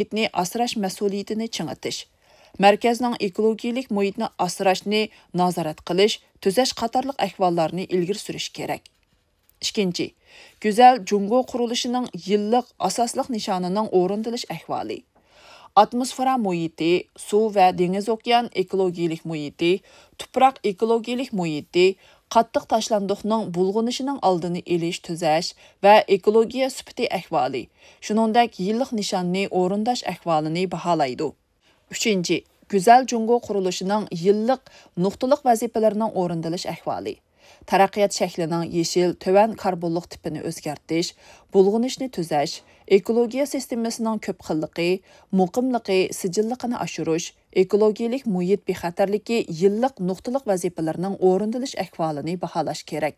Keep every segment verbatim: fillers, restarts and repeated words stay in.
مۇھىتنى ئاسراش مەسئۇلىيىتىنى چىڭىتىش، مەركەزنىڭ ئېكولوگىيەلىك مۇھىتنى ئاسراشنى نازارەت قىلىش، تۈزەش قاتارلىق ئەھۋاللارنى ئىلگىرى سۈرۈش كېرەك. ئىككىنچى، گۈزەل جۇڭگو قۇرۇلۇشىنىڭ يىللىق ئاساسلىق نىشانىنىڭ ئورۇندىلىش ئەھۋالى. ئاتموسفېرا مۇھىتى، سۇ ۋە دېڭىز ئوكيان ئېكولوگىيەلىك مۇھىتى، تۇپراق ئېكولوگىيەلىك مۇھىتى، قاتتىق تاشلاندۇقنىڭ بۇلغىنىشىنىڭ ئالدىنى ئېلىش، تۈزەش ۋە ئېكولوگىيە سۈپىتى ئەھۋالى، شۇنىڭدەك يىللىق نىشاننى ئورۇنداش ئەھۋالىنى باھالايدۇ. ئۈچىنچى، گۈزەل جۇڭگو قۇرۇلۇشىنىڭ يىللىق نۇقتىلىق ۋەزىپىلىرىنىڭ ئورۇندىلىش ئەھۋالى. تەرەققىيات شەكلىنىڭ يېشىل، تۆۋەن كاربونلۇق تىپىنى ئۆزگەرتىش، بۇلغىنىشنى تۈزەش، ئېكولوگىيە سىستېمىسىنىڭ كۆپ خىللىقى، مۇقىملىقى، سىجىللىقىنى ئاشۇرۇش، ئېكولوگىيەلىك مۇھىت بىخەتەرلىكى يىللىق نۇقتىلىق ۋەزىپىلىرىنىڭ ئورۇندىلىش ئەھۋالىنى باھالاش كېرەك.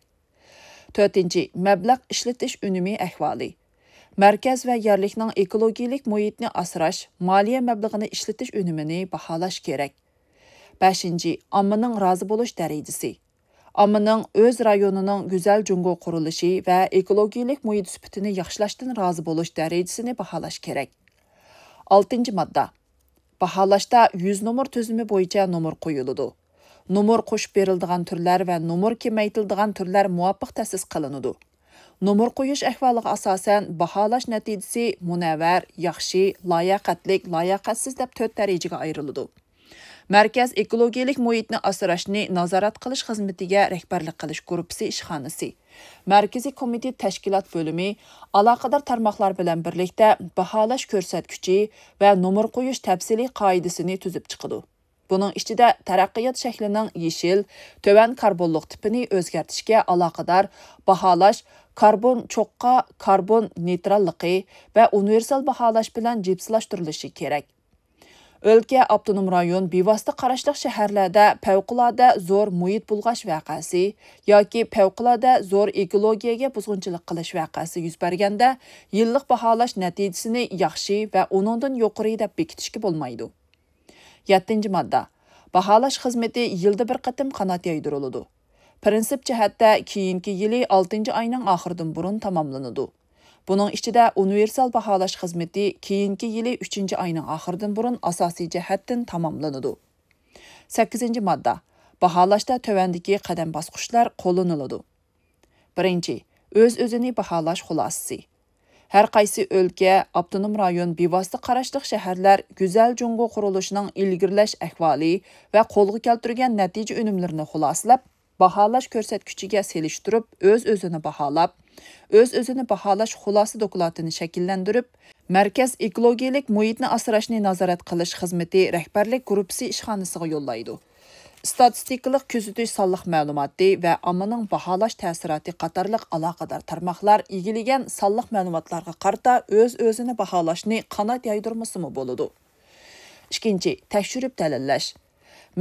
تۆتىنچى، مەبلەغ ئىشلىتىش ئۈنۈمى ئەھۋالى. مەركەز ۋە يەرلىكنىڭ ئېكولوگىيەلىك مۇھىتنى ئاسراش، مالىيە مەبلىغىنى ئىشلىتىش ئۈنۈمىنى باھالاش كېرەك. بەشىنچى، ئاممىنىڭ رازى بولۇش دەرىجىسى. ئاممىنىڭ ئۆز رايونىنىڭ گۈزەل جۇڭگو قۇرۇلۇشى ۋە ئېكولوگىيەلىك مۇھىت سۈپىتىنى ياخشىلاشتىن رازى بولۇش دەرىجىسىنى باھالاش كېرەك. ئالتىنچى ماددا. باھالاشتا يۈز نومۇر تۈزۈمى بويىچە نومۇر قويۇلىدۇ. نومۇر قوشۇپ بېرىلىدىغان تۈرلەر ۋە نومۇر كېمەيتىلىدىغان تۈرلەر مۇۋاپىق تەسىس قىلىنىدۇ. نومۇر قويۇش ئەھۋالىغا ئاساسەن، باھالاش نەتىجىسى مۇنەۋۋەر، ياخشى، لاياقەتلىك، لاياقەتسىز دەپ تۆت دەرىجىگە ئايرىلىدۇ. مەركەز ئېكولوگىيەلىك مۇھىتنى ئاسراشنى نازارەت قىلىش خىزمىتىگە رەھبەرلىك قىلىش گۇرۇپپىسى ئىشخانىسى، مەركىزىي كومىتېت تەشكىلات بۆلۈمى ئالاقىدار تارماقلار بىلەن بىرلىكتە باھالاش كۆرسەتكۈچى ۋە نومۇر قويۇش تەپسىلىي قائىدىسىنى تۈزۈپ چىقىدۇ. بۇنىڭ ئىچىدە تەرەققىيات شەكلىنىڭ يېشىل، تۆۋەن كاربونلۇق تىپىنى ئۆزگەرتىشكە ئالاقىدار باھالاش، كاربون چوققا، كاربون نېيتراللىقى ۋە ئۇنىۋېرسال باھالاش بىلەن جىپسلاشتۇرۇلۇشى كېرەك. ئۆلكە، ئاپتونوم رايون، بىۋاسىتە قاراشلىق شەھەرلەردە پەۋقۇلئاددە زور مۇھىت بۇلغاش ۋەقەسى ياكى پەۋقۇلئاددە زور ئېكولوگىيەگە بۇزغۇنچىلىق قىلىش ۋەقەسى يۈز بەرگەندە، يىللىق باھالاش نەتىجىسىنى ياخشى ۋە ئۇنىڭدىن يۇقىرى دەپ بېكىتىشكە بولمايدۇ. يەتتىنچى ماددا. باھالاش خىزمىتى يىلدا بىر قېتىم قانات يايدۇرۇلىدۇ. پىرىنسىپ جەھەتتە كېيىنكى يىلى ئالتىنچى ئاينىڭ ئاخىرىدىن بۇرۇن تاماملىنىدۇ. بۇنىڭ ئىچىدە ئۇنىۋېرسال باھالاش خىزمىتى كېيىنكى يىلى ئۈچىنچى ئاينىڭ ئاخىرىدىن بۇرۇن ئاساسىي جەھەتتىن تاماملىنىدۇ. سەككىزىنچى ماددا. باھالاشتا تۆۋەندىكى قەدەم باسقۇچلار قوللىنىلىدۇ. بىرىنچى، ئۆز-ئۆزىنى باھالاش خۇلاسىسى. ھەر قايسى ئۆلكە، ئاپتونوم رايون، بىۋاسىتە قاراشلىق شەھەرلەر گۈزەل جۇڭگو قۇرۇلۇشىنىڭ ئىلگىرىلەش ئەھۋالى ۋە قولغا كەلتۈرگەن نەتىجە ئۈنۈملىرىنى خۇلاسىلەپ، باھالاش كۆرسەتكۈچىگە سېلىشتۇرۇپ، ئۆز-ئۆزىنى باھالاپ، ئۆز-ئۆزىنى باھالاش خۇلاسە دوكلاتىنى شەكىللەندۈرۈپ، مەركەز ئېكولوگىيەلىك مۇھىتنى ئاسراشنى نازارەت قىلىش خىزمىتى رەھبەرلىك گۇرۇپپىسى ئىشخانىسىغا يوللايدۇ. ئىستاتىستىكىلىق كۆزىتىش سانلىق مەلۇماتى ۋە ئاممىنىڭ باھالاش تەسىراتى قاتارلىق ئالاقىدار تارماقلار ئىگىلىگەن سانلىق مەلۇماتلارغا قارىتا ئۆز-ئۆزىنى باھالاشنى قانات يايدۇرمىسىمۇ بولىدۇ. ئىككىنچى، تەكشۈرۈپ دەلىللەش.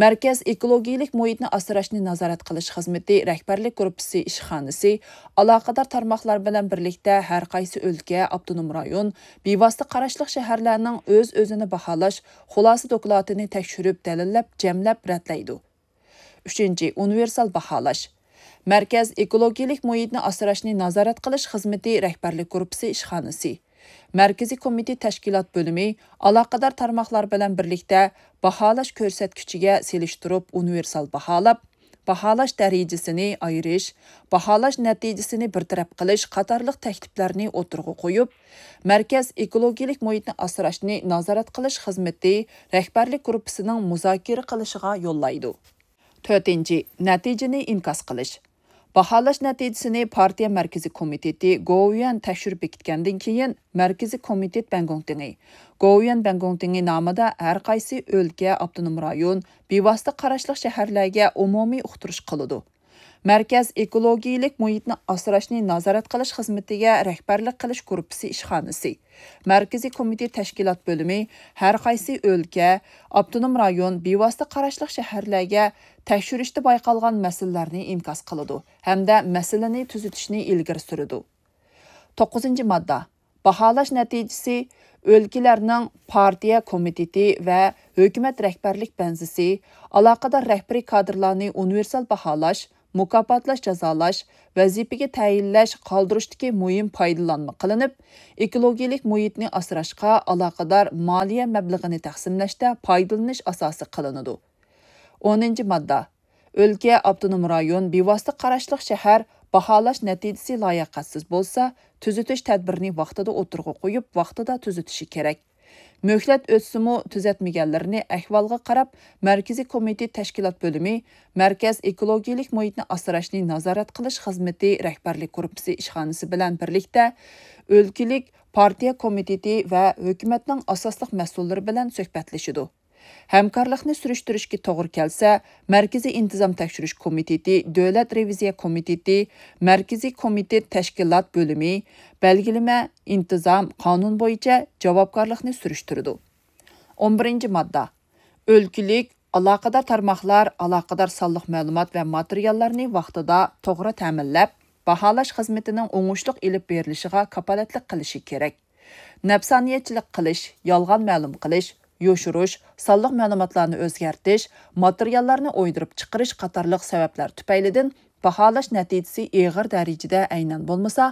مەركەز ئېكولوگىيەلىك مۇھىتنى ئاسراشنى نازارەت قىلىش خىزمىتى رەھبەرلىك گۇرۇپپىسى ئىشخانىسى ئالاقىدار تارماقلار بىلەن بىرلىكتە ھەر قايسى ئۆلكە، ئاپتونوم رايون، بىۋاسىتە قاراشلىق شەھەرلەرنىڭ ئۆز-ئۆزىنى باھالاش خۇلاسە دوكلاتىنى تەكشۈرۈپ، دەلىللەپ، جەملەپ، رەتلەيدۇ. ئۈچىنچى، ئۇنىۋېرسال باھالاش. مەركەز ئېكولوگىيەلىك مۇھىتنى ئاسراشنى نازارەت قىلىش خىزمىتى رەھبەرلىك گۇرۇپپىسى ئىشخانىسى، مەركىزىي كومىتېت تەشكىلات بۆلۈمى ئالاقىدار تارماقلار بىلەن بىرلىكتە باھالاش كۆرسەتكۈچىگە سېلىشتۇرۇپ ئۇنىۋېرسال باھالاپ، باھالاش دەرىجىسىنى ئايرىش، باھالاش نەتىجىسىنى بىر تەرەپ قىلىش قاتارلىق تەكلىپلەرنى ئوتتۇرىغا قويۇپ، مەركەز ئېكولوگىيەلىك مۇھىتنى ئاسراشنى نازارەت قىلىش خىزمىتى رەھبەرلىك گۇرۇپپىسىنىڭ مۇزاكىرە قىلىشىغا يوللايدۇ. تۆتىنچى، نەتىجىنى ئىنكاس قىلىش. باھالاش نەتىجىسىنى پارتىيە مەركىزىي كومىتېتى گوۋۇيۈەن تەكشۈرۈپ بېكىتكەندىن كېيىن، مەركىزىي كومىتېت بەنگوڭتىڭى، گوۋۇيۈەن بەنگوڭتىڭى نامىدا ھەر قايسى ئۆلكە، ئاپتونوم رايون، بىۋاسىتە قاراشلىق شەھەرلەرگە ئومۇمىي ئۇقتۇرۇش قىلىدۇ. مەركەز ئېكولوگىيەلىك مۇھىتنى ئاسراشنى نازارەت قىلىش خىزمىتىگە رەھبەرلىك قىلىش گۇرۇپپىسى ئىشخانىسى، مەركىزىي كومىتېت تەشكىلات بۆلۈمى ھەر قايسى ئۆلكە، ئاپتونوم رايون، بىۋاسىتە قاراشلىق شەھەرلەرگە تەكشۈرۈشتە بايقالغان مەسىلىلەرنى ئىنكاس قىلىدۇ ھەمدە مەسىلىنى تۈزىتىشنى ئىلگىرى سۈرىدۇ. توققۇزىنچى ماددا. باھالاش نەتىجىسى ئۆلكىلەرنىڭ پارتىيە كومىتېتى ۋە ھۆكۈمەت رەھبەرلىك بەنزىسى، ئالاقىدار رەھبىرىي كادىرلارنى ئۇنىۋېرسال باھالاش، مۇكاپاتلاش، جازالاش، ۋەزىپىگە تەيىنلەش، قالدۇرۇشتىكى مۇھىم پايدىلانما قىلىنىپ، ئېكولوگىيەلىك مۇھىتنى ئاسراشقا ئالاقىدار مالىيە مەبلىغىنى تەقسىملەشتە پايدىلىنىش ئاساسى قىلىنىدۇ. ئونىنچى ماددا. ئۆلكە، ئاپتونوم رايون، بىۋاسىتە قاراشلىق شەھەر باھالاش نەتىجىسى لاياقەتسىز بولسا، تۈزىتىش تەدبىرىنى ۋاقتىدا ئوتتۇرىغا قويۇپ، ۋاقتىدا تۈزىتىشى كېرەك. مۆھلەت ئۆتسىمۇ تۈزەتمىگەنلىرىنى ئەھۋالغا قاراپ، مەركىزىي كومىتېت تەشكىلات بۆلۈمى مەركەز ئېكولوگىيەلىك مۇھىتنى ئاسراشنى نازارەت قىلىش خىزمىتى رەھبەرلىك گۇرۇپپىسى ئىشخانىسى بىلەن بىرلىكتە ئۆلكىلىك پارتىيە كومىتېتى ۋە ھۆكۈمەتنىڭ ئاساسلىق مەسئۇللىرى بىلەن سۆھبەتلىشىدۇ. ھەمكارلىقنى سۈرۈشتۈرۈشكە توغرا كەلسە، مەركىزىي ئىنتىزام تەكشۈرۈش كومىتېتى، دۆلەت رېۋىزىيە كومىتېتى، مەركىزىي كومىتېت تەشكىلات بۆلۈمى، بەلگىلىمە، ئىنتىزام، قانۇن بويىچە جاۋابكارلىقنى سۈرۈشتۈرىدۇ. ئون بىرىنچى ماددا. ئۆلكىلىك ئالاقىدار تارماقلار ئالاقىدار سانلىق مەلۇمات ۋە ماتېرىياللارنى ۋاقتىدا، توغرا تەمىنلەپ، باھالاش خىزمىتىنىڭ ئوڭۇشلۇق ئېلىپ بېرىلىشىغا كاپالەتلىك قىلىشى كېرەك. نەپسانىيەتچىلىك قىلىش، يالغان مەلۇم قىلىش، يوشۇرۇش، سانلىق مەلۇماتلارنى ئۆزگەرتىش، ماتېرىياللارنى ئويدۇرۇپ چىقىرىش قاتارلىق سەۋەبلەر تۈپەيلىدىن باھالاش نەتىجىسى ئېغىر دەرىجىدە ئەينەن بولمىسا،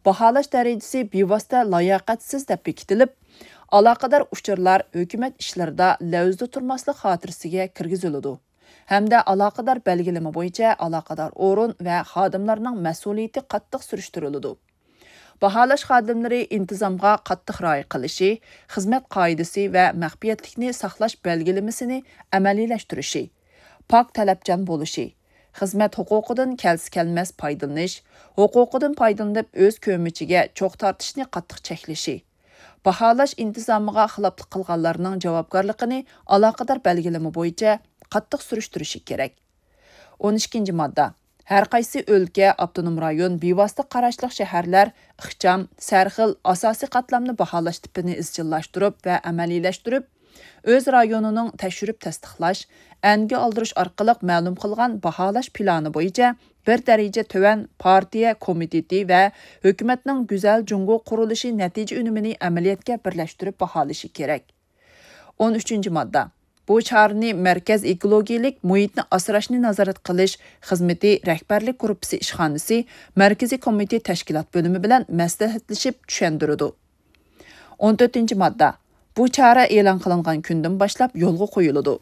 باھالاش دەرىجىسى بىۋاسىتە لاياقەتسىز دەپ بېكىتىلىپ، ئالاقىدار ئۇچۇرلار ھۆكۈمەت ئىشلىرىدا لەۋزىدە تۇرماسلىق خاتىرىسىگە كىرگۈزۈلىدۇ ھەمدە ئالاقىدار بەلگىلىمە بويىچە ئالاقىدار ئورۇن ۋە خادىملارنىڭ مەسئۇلىيىتى قاتتىق سۈرۈشتۈرۈلىدۇ. باھالاش خادىملىرى ئىنتىزامغا قاتتىق رىئايە قىلىشى، خىزمەت قائىدىسى ۋە مەخپىيەتلىكنى ساقلاش بەلگىلىمىسىنى ئەمەلىيلەشتۈرۈشى، پاك تەلەپچان بولۇشى، خىزمەت ھوقۇقىدىن كەلسە-كەلمەس پايدىلىنىش، ھوقۇقىدىن پايدىلىنىپ ئۆز كۆمىچىگە چوغ تارتىشنى قاتتىق چەكلىشى، باھالاش ئىنتىزامىغا خىلاپلىق قىلغانلارنىڭ جاۋابكارلىقىنى ئالاقىدار بەلگىلىمە بويىچە قاتتىق سۈرۈشتۈرۈشى كېرەك. ئون ئىككىنچى ماددا. ھەر قايسى ئۆلكە، ئاپتونوم رايون، بىۋاسىتە قاراشلىق شەھەرلەر ئىخچام، سەرخىل، ئاساسىي قاتلامنى باھالاش تىپىنى ئىزچىللاشتۇرۇپ ۋە ئەمەلىيلەشتۈرۈپ، ئۆز رايونىنىڭ تەكشۈرۈپ تەستىقلاش، ئەنگە ئالدۇرۇش ئارقىلىق مەلۇم قىلغان باھالاش پىلانى بويىچە بىر دەرىجە تۆۋەن پارتىيە كومىتېتى ۋە ھۆكۈمەتنىڭ گۈزەل جۇڭگو قۇرۇلۇشى نەتىجە ئۈنۈمىنى ئەمەلىيەتكە بىرلەشتۈرۈپ باھالىشى كېرەك. ئون ئۈچىنچى ماددا. بۇ چارىنى مەركەز ئېكولوگىيەلىك مۇھىتنى ئاسراشنى نازارەت قىلىش خىزمىتى رەھبەرلىك گۇرۇپپىسى ئىشخانىسى مەركىزىي كومىتېت تەشكىلات بۆلۈمى بىلەن مەسلىھەتلىشىپ چۈشەندۈرىدۇ. ئون تۆتىنچى ماددا. بۇ چارە ئېلان قىلىنغان كۈندىن باشلاپ يولغا قويۇلىدۇ.